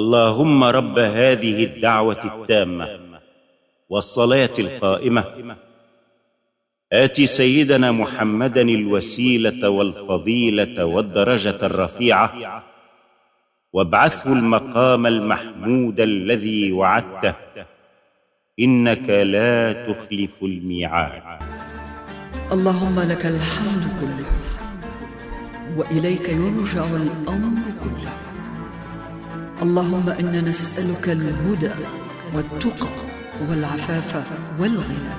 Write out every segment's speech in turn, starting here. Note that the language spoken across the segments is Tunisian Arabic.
اللهم رب هذه الدعوة التامة والصلاة القائمة، آت سيدنا محمدا الوسيلة والفضيلة والدرجة الرفيعة، وابعثه المقام المحمود الذي وعدته، إنك لا تخلف الميعاد. اللهم لك الحمد كله، وإليك يرجع الأمر كله. اللهم إنا نسألك الهدى والتقى والعفاف والغنى.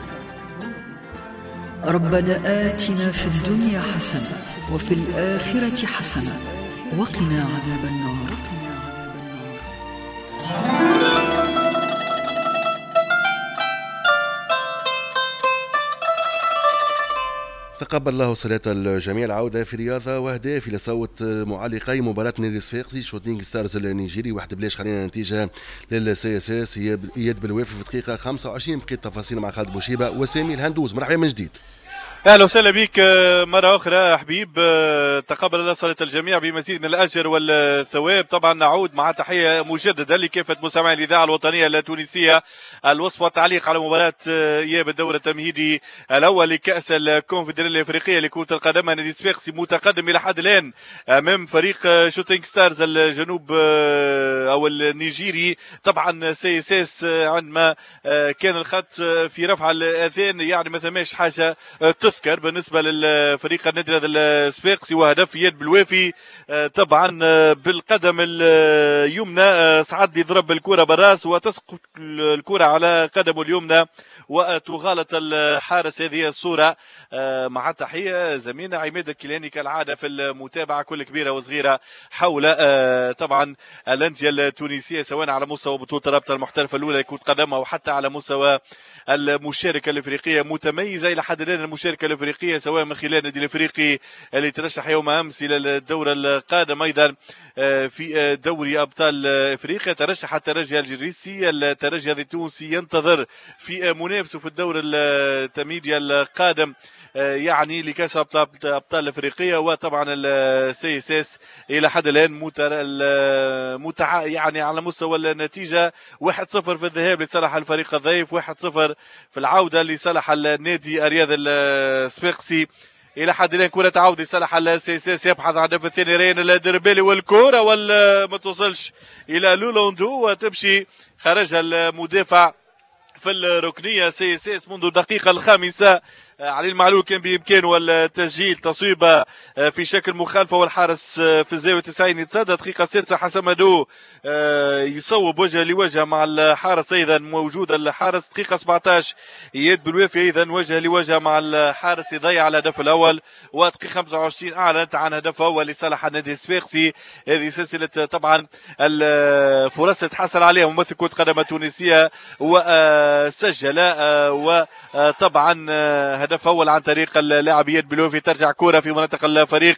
ربنا آتنا في الدنيا حسنة وفي الآخرة حسنة وقنا عذاب النار. تقبل الله صلاة الجميع. العودة في رياضة وأهداف إلى صوت معلقي مباراة نادي الصفاقسي شوتينغ ستارز النيجيري 1-0. خلينا نتيجة لل CSS إياد بالوافي في دقيقة 25. بقية التفاصيل مع خالد بوشيبة وسامي الهندوز. مرحبا من جديد. اهلا وسهلا بك مرة اخرى حبيب. تقبل الله صلاة الجميع بمزيد من الاجر والثواب. طبعا نعود مع تحية مجدده لكافة مستمعي الاذاعة الوطنية التونسية. الوصف والتعليق على مباراة اياب الدور التمهيدي الاول لكاس الكونفدراليه الافريقية لكرة القدم. نادي صفاقسي متقدم الى حد الان امام فريق شوتينغ ستارز الجنوب او النيجيري. طبعا CSS عندما كان الخط في رفع الاذان يعني ما ثماش حاجة تذكر بالنسبة للفريق النادي الصفاقسي، وهدف يد بالوافي طبعا بالقدم اليمنى. صعد يضرب الكره بالراس وتسقط الكره على قدمه اليمنى وتغالط الحارس. هذه الصورة مع تحية زميلنا عماد الكيلاني كالعادة في المتابعة كل كبيرة وصغيره حول طبعا الاندية التونسية، سواء على مستوى بطوله الرابطة المحترفه الاولى لكرة قدم او حتى على مستوى المشاركة الافريقية. متميزة الى حد الان المشاركة الافريقية، سواء من خلال النادي الافريقي اللي ترشح يوم امس الى الدور القادم، ايضا في دوري ابطال افريقيا ترشح الترجي الجريسي. الترجي التونسي ينتظر في منافسه في الدور التمهيدي القادم يعني لكاس ابطال افريقيا. وطبعا ال CSS الى حد الان يعني على مستوى النتيجة 1-0 في الذهاب لصالح الفريق الضيف، 1-0 في العودة لصالح النادي الرياض الصفاقسي. الى حد الان كره تعود لصالح ال CSS، يبحث عن الهدف الثاني ريان الدربالي، والكره ولا ما توصلش الى لولوندو وتمشي خرجها المدافع في الركنيه. CSS منذ الدقيقة الخامسة علي المعلول كان بامكانه التسجيل، تصويبه في شكل مخالفة والحارس في الزاوية 90 يتصدى. دقيقة السادسة حسن مدو يصوب وجه لوجه مع الحارس، ايضا موجود الحارس. دقيقة 17 اياد بالوافي ايضا وجه لوجه مع الحارس يضيع الهدف الاول. ودقيقة 25 اعلنت عن هدف اول لصالح النادي الصفاقسي. هذه سلسلة طبعا الفرص تحصل عليها ممثل كره قدم التونسية وسجل، وطبعا هدف أول عن طريق اللاعب إياد بلوفي. ترجع كرة في مناطق الفريق